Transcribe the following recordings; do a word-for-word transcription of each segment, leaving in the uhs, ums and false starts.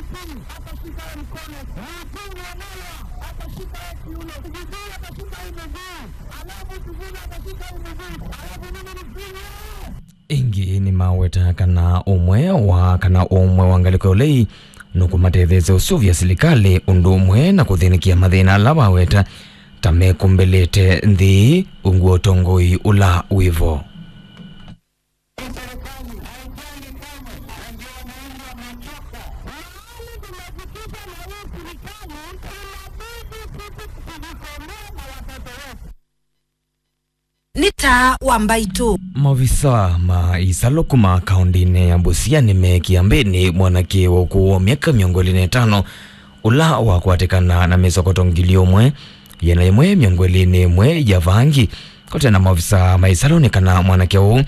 Atashika mkono. Mkono wa moyo. Atashika kiuno. Sijui atashika hii miguu. Alafu sijui atashika hii miguu. Alafu mimi nifinye. Ĩngĩ nĩmaweta kana ũmwe wa, kana ũmwe wa ngalĩko ya ũlei nũkũmatetheesya ũseũvya silikalĩ ũndũ ũmwe na kũthĩnĩkĩa mathĩna ala waweta ta mekũmbĩlĩte nthĩ ungu wa ũtongoi ũla wĩvo. Nĩ taa wa mbaitũ. Maovisa ma isalũ kuma kaũndĩnĩ ya Busia nĩmeekie mbĩnĩ mwanake wa ũkũũ wa myaka mĩongo ĩlĩ na ĩtano ũla wakwatĩkana na mĩsokoto ngili ũmwe, ĩana yĩmwe mĩongo ĩlĩ na ĩmwe ya vangi. Kũtena maovisa ma isalũ nĩ kana mwanake ũũ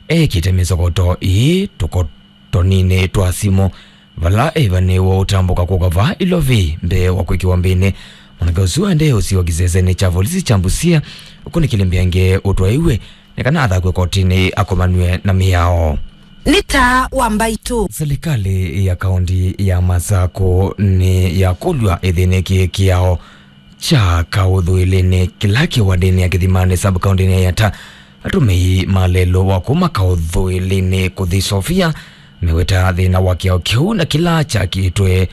eekĩte mĩsokoto ĩĩ tũkotoninĩ twa simũ vala ĩvanĩĩwe ũtambũka kũka vaa Ilovi mbee wa kwĩkĩwa mbĩnĩ. Mwanake ũsu aendee ũsiwa kĩsesenĩ kya volisi kya Busia, ũkunĩkĩle mbyange ũtwaĩwe nĩ kana athakw'e kotinĩ akomanw'e na mĩao. Nĩ taa wa mbaitũ. Silikalĩ ya kaũnti ya Masakũ nĩ yakũlw'a ĩthĩnĩkĩe kĩao kya kaũthũĩlĩnĩ kĩla kĩ wandĩnĩ ya Kĩthimanĩ sub-kaũndĩnĩ ya Yatta. Atũmĩi ma lelũ wa kuma kaũthũĩlĩnĩ kũthi Sofia meweta thĩna wa kĩao kĩu na kĩla kyakĩtwe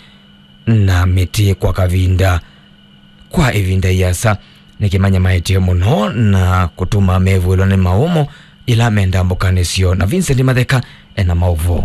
na mĩtĩ kwa kavinda kwa ĩvinda ĩasa nĩkĩmanyamaĩtye mũno na kũtuma mevũĩlwa nĩ maũmo ĩla me ndambũkanĩ syoo. Na Vincent Matheka ena maũvoo.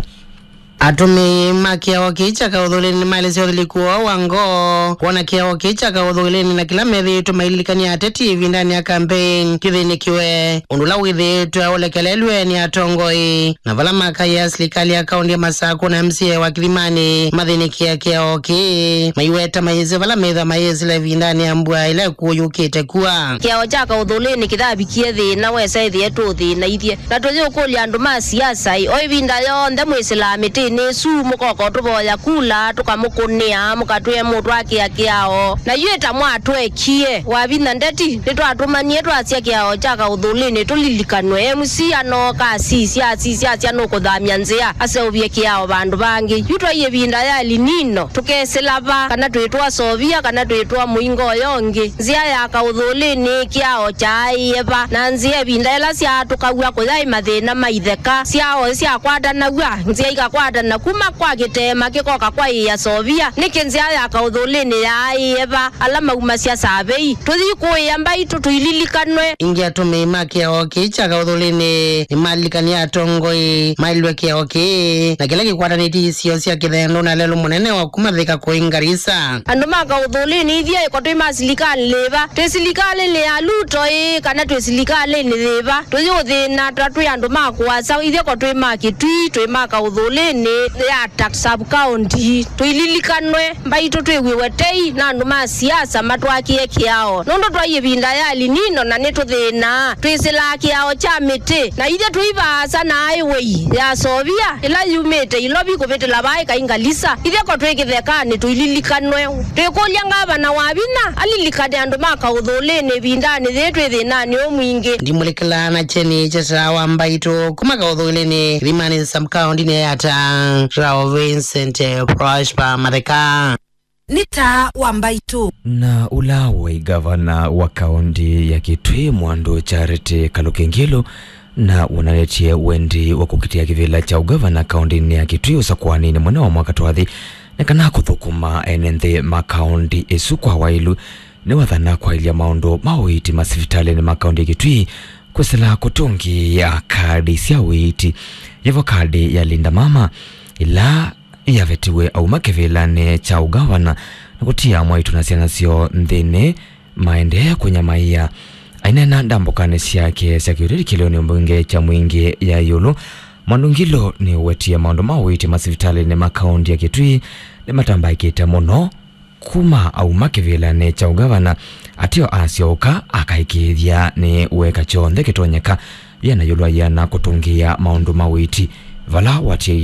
Atũmĩi ma kĩao kĩĩ kya kaũthũĩlĩnĩ nĩmaelesya ũthilĩku woo wa ngoo kwona kĩao kĩĩ kya kaũthũĩlĩnĩ na kĩla methĩĩtwe maililikany'a ateti ĩvindanĩ ya kambeini kĩthĩnĩkĩwe, ũndũ ũla wĩthĩĩtwe ũlekelelw'e nĩ atongoi. Na vala makaĩa silikalĩ ya kaũnti ya Masakũ na M C A wa Kĩthimanĩ mathĩnĩkĩa kĩao kĩĩ, maiweta mayĩsĩ vala methwa mayĩsĩla ĩvindanĩ ya mbua ĩla ĩkũũ yũkĩte kua. Kĩao kya kaũthũĩlĩnĩ kĩthavikie thĩna wesa ĩthĩe tũũthĩnaithye. Na tũyĩũkũlya andũ ma siasa-ĩ, o ĩvinda yonthe mwĩsĩlaa mĩtĩnĩ ĩsu, mũkoka ũtũvoya kula, tũkamũkũnĩa, mũkatwĩa mũtwakĩa kĩao. Na yu ĩta mwatwekie, wavinya ndeti, nĩtwatũmanie twasya kĩao kya kaũthũĩlĩnĩ tũlilikanwe. M C A anooka asisya, asisya, asya nũkũthamya nzĩa, aseũvye kĩao vandũ vangĩ. Yu twai ĩvinda ya El Nino, tũkesĩla va, kana twĩtwa Sofia, kana twĩtwa mũingo ũyo ũngĩ. Nzĩa ya kaũthũĩlĩnĩ kĩao kyaaĩe va, na nzĩa ĩvinda ĩla syaatũkaw'a kũyaĩ mathĩna ma itheka, syao syakwatanaw'a, nzĩa ikakwatana kuma kwa kĩteema kĩkoka kwa ĩĩa Sofia. Nĩkĩ nzĩa ya kaũthũĩlĩnĩ yaaĩe va? Ala maumasya savei, tũthi kũĩa mbaitũ tũililikanwe. Ĩngĩ atũmĩi ma kĩao kĩĩ kya kaũthũĩlĩnĩ nĩmalilikanie atongoi mailwe kĩao kĩĩ na kĩla kĩkwatanĩtye isio sya kĩthendũ na lelũ mũnene wa kuma Thika kũi Garissa. Andũ ma kaũthũĩlĩnĩ ithyĩ ĩko twĩ ma silikalĩ yĩva? Twĩ silikalĩnĩ ya Ruto ĩĩ, kana twĩ silikalĩnĩ yĩva? Tũyĩũthĩna ta twĩ andũ ma kũasa, ithyĩ ko twĩ ma Kitui, twĩ ma kaũthũĩlĩnĩ ya Yatta sub-county. Tũililikanwe, mbaitũ twĩw'ĩwe tei na andũ ma siasa matwakĩe kĩao. Nũndũ twai ĩvinda ya El Nino na nĩtũthĩnaa, twĩsĩlaa kĩao kya mĩtĩ. Na ithyĩ tũi vaasa na highway ya Sofia, ĩla yumĩte Ilovi kũvĩtĩla vaa ĩkai Garissa. Ithyĩ ko twĩ kĩthekanĩ, tũililikanwe. Twĩkũlya ngavana Wavinya alilikane andũ ma kaũthũĩlĩnĩ ĩvindanĩ yĩĩ twĩ thĩnanĩ ũũ mwingĩ. Ndimũlĩkĩlaa na kyeni kya taa wa mbaitũ kuma kaũthũĩlĩnĩ Kĩthimanĩ sub-kaũntinĩ ya Yatta, Rao Vincent Prosper Matheka. Nĩ taa wa mbaitũ. Na ũla waĩ ngavana wa kaũnti ya Kitui, Mwandũ Charity Kaluki Ngilu, na wonanĩtye wendi wa kũkitĩa kĩvĩla kya ũngavana kaũntinĩ ya Kitui ũsakũanĩnĩ mũnene wa mwaka twathi, nĩ kana kũthũkũma ene nthĩ ma kaũnti ĩsu kwa waĩlu. Nĩwathana kwaĩlya maũndũ ma ũiiti masivitalĩnĩ ma kaũnti ya Kitui, kwĩsĩla kũtũngĩĩa kadi sya ũiiti, yĩvo kadi ya Linda Mama, ĩla yavetiwe auma kĩvĩlanĩ kya ũngavana na kũtia mwaitũ na syana syoo nthĩnĩ, maendee kũnyamaĩa. Aineena ndambũkanĩ syake sya kĩũteti kĩlĩonĩ mbunge kya Mwingĩ ya ĩũlũ, Mwandũ Ngilu nĩwetie maũndũ ma ũiiti masivitalĩnĩ ma kaũnti ya Kitui nĩmatambaĩkĩte mũno kuma auma kĩvĩlanĩ kya ũngavana, ateo asyoka akaĩkĩĩthya nĩ weka kyonthe kĩtonyeka yĩana ĩũlũ wa yĩana kũtũngĩĩa maũndũ ma ũiiti vala watie